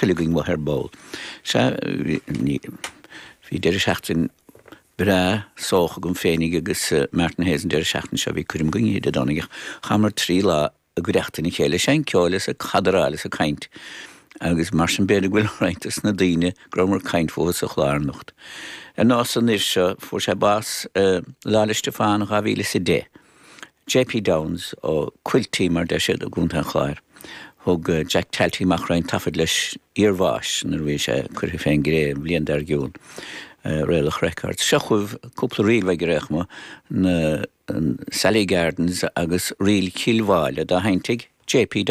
tuilleadh againn uaidh ar ball. Sea, bhí deireadh seachtaine breá sóch agam féinig agus Martin Hayes an deireadh seachtaine seo, bhí coirm againn oíche Dé Domhnaigh ach chaitheamar 3 lá i gcuideachta a chéile, ag seinnt ceoil is ag cadráil is ag caint agus mar sin b'fhéidir go bhfuil roinnt dos na daoine go rabhamar ag caint fúthu sa chlár anocht. Ar nós an fhir seo, fuair sé bás Lá 'le Stiofáin 2010. JP Downes ó Quilty mar deir siad i gContae an Chláir. Thug Jack Talty amach roinnt taifead leis iar bháis nuair a bhí sé curtha fén gcré an bhliain dár gcionn. Raolach Records. Seo chugaibh cúpla ríl uaidh ar aon chuma, na Sally Gardens agus Ríl Chill Mháille dá sheinnt ag JP.